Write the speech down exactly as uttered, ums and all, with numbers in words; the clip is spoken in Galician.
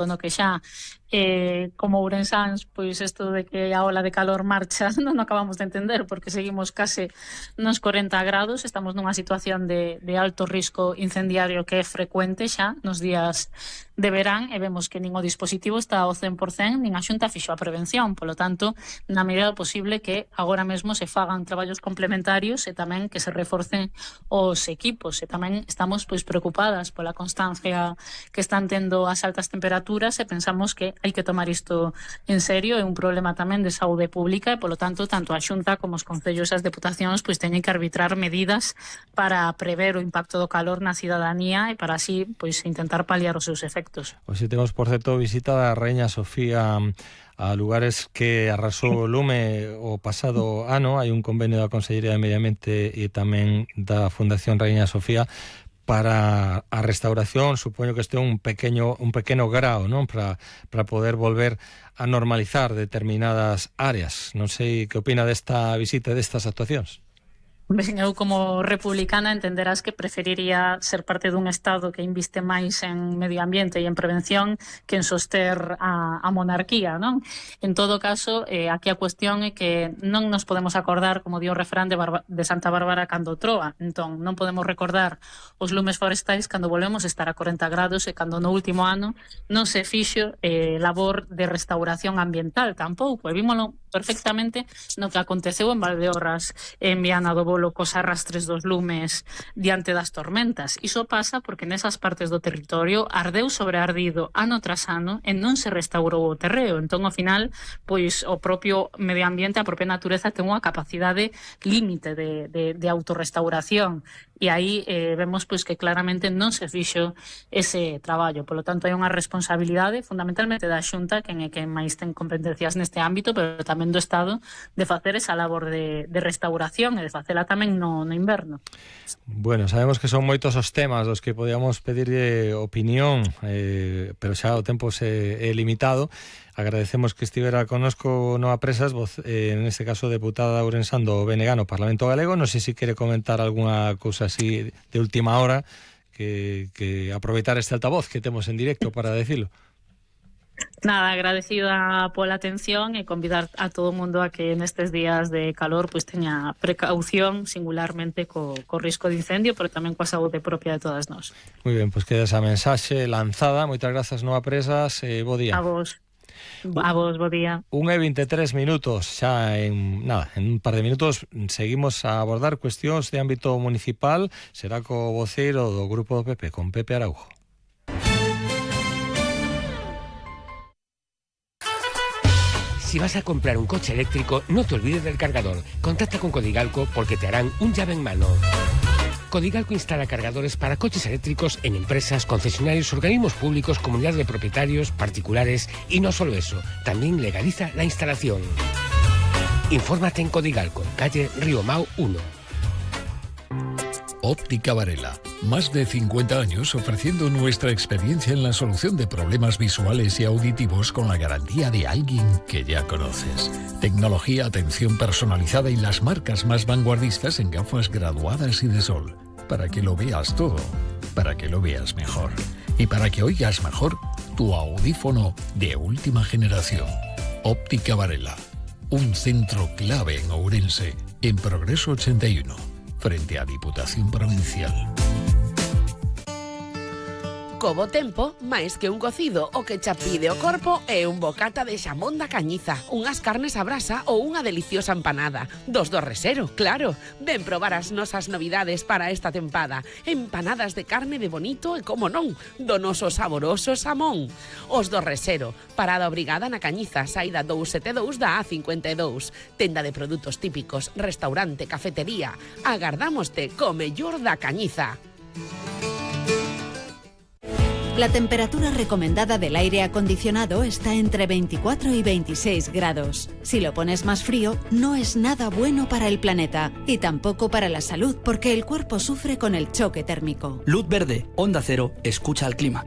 no que xa eh, como ourensáns, pois isto de que a ola de calor marcha non acabamos de entender, porque seguimos case nos corenta grados, estamos nunha situación de, de alto risco incendiario que é frecuente xa nos días de verán, e vemos que nin o dispositivo está ao cen por cen, nin a Xunta fixo a prevención. Polo tanto, na medida do posible que agora mesmo se fagan traballos complementarios e tamén que se reforcen os equipos, e tamén estamos pois preocupadas pola constancia que están tendo as altas temperaturas, e pensamos que hai que tomar isto en serio, é un problema tamén de saúde pública, e polo tanto, tanto a Xunta como os concellos e as deputacións pois teñen que arbitrar medidas para prever o impacto do calor na cidadanía e para así pois intentar paliar os seus efectos. Hoxe temos, por certo, visita da Raíña Sofía a lugares que arrasou o lume o pasado ano. Hai un convenio da Consellería de Medio Ambiente e tamén da Fundación Raíña Sofía para a restauración. Supoño que este é un pequeno un pequeno grao, non, para para poder volver a normalizar determinadas áreas. Non sei que opina desta visita e destas actuacións. Ben, eu como republicana entenderás que preferiría ser parte dun Estado que inviste máis en medio ambiente e en prevención que en soster a, a monarquía, non? En todo caso, eh, aquí a cuestión é que non nos podemos acordar, como dio o refrán de, Barba, de Santa Bárbara cando troa. Entón, non podemos recordar os lumes forestais cando volvemos estar a corenta grados e cando no último ano non se fixo eh, labor de restauración ambiental tampouco. E vímolo perfectamente no que aconteceu en Valdeorras, en Viana do Bolo, cos arrastres dos lumes diante das tormentas. Iso pasa porque nesas partes do territorio ardeu sobre ardido ano tras ano e non se restaurou o terreo. Entón, ao final, pois o propio medio ambiente, a propia natureza ten unha capacidade límite de, de, de autorrestauración. E aí eh, vemos pois que claramente non se fixo ese traballo. Polo tanto, hai unha responsabilidade fundamentalmente da Xunta, quen é quen máis ten competencias neste ámbito, pero tamén do Estado, de facer esa labor de, de restauración e de facela tamén no, no inverno. Bueno, sabemos que son moitos os temas dos que podíamos pedirlle opinión, eh, pero xa o tempo se é limitado. Agradecemos que estivera connosco Noa Presas, voz, eh, en este caso deputada ourensán do B N G no Parlamento Galego. Non sei se quere comentar algunha cousa así de última hora, que, que aproveitar este altavoz que temos en directo para decirlo. Nada, agradecida pola atención e convidar a todo o mundo a que nestes días de calor pois teña precaución, singularmente co, co risco de incendio, pero tamén coa saúde propia de todas nós. Moi ben, pois queda esa mensaxe lanzada. Moitas grazas, Noa Presas, e bo día. A vos. A vos, bo día. Un e veintitrés minutos, xa en nada, en un par de minutos seguimos a abordar cuestións de ámbito municipal. Será co voceiro do Grupo do P P, con Pepe Araujo. Si vas a comprar un coche eléctrico, no te olvides del cargador. Contacta con Codigalco porque te harán un llave en mano. Codigalco instala cargadores para coches eléctricos en empresas, concesionarios, organismos públicos, comunidades de propietarios, particulares y no solo eso, también legaliza la instalación. Infórmate en Codigalco, calle Río Mau uno. Óptica Varela. Más de cincuenta años ofreciendo nuestra experiencia en la solución de problemas visuales y auditivos con la garantía de alguien que ya conoces. Tecnología, atención personalizada y las marcas más vanguardistas en gafas graduadas y de sol. Para que lo veas todo, para que lo veas mejor. Y para que oigas mejor tu audífono de última generación. Óptica Varela. Un centro clave en Ourense, en Progreso ochenta y uno. Frente a Diputación Provincial. Co bo tempo, máis que un cocido, o que cha pide o corpo é un bocata de xamón da Cañiza, unhas carnes a brasa ou unha deliciosa empanada. Dos do Resero, claro. Ven probar as nosas novidades para esta tempada. Empanadas de carne de bonito e, como non, do noso saboroso xamón. Os do Resero, parada obrigada na Cañiza, saída dous sete dous da A cincuenta e dous. Tenda de produtos típicos, restaurante, cafetería. Agardámoste co mellor da Cañiza. La temperatura recomendada del aire acondicionado está entre veinticuatro y veintiséis grados. Si lo pones más frío, no es nada bueno para el planeta y tampoco para la salud, porque el cuerpo sufre con el choque térmico. Luz verde, Onda Cero, escucha al clima.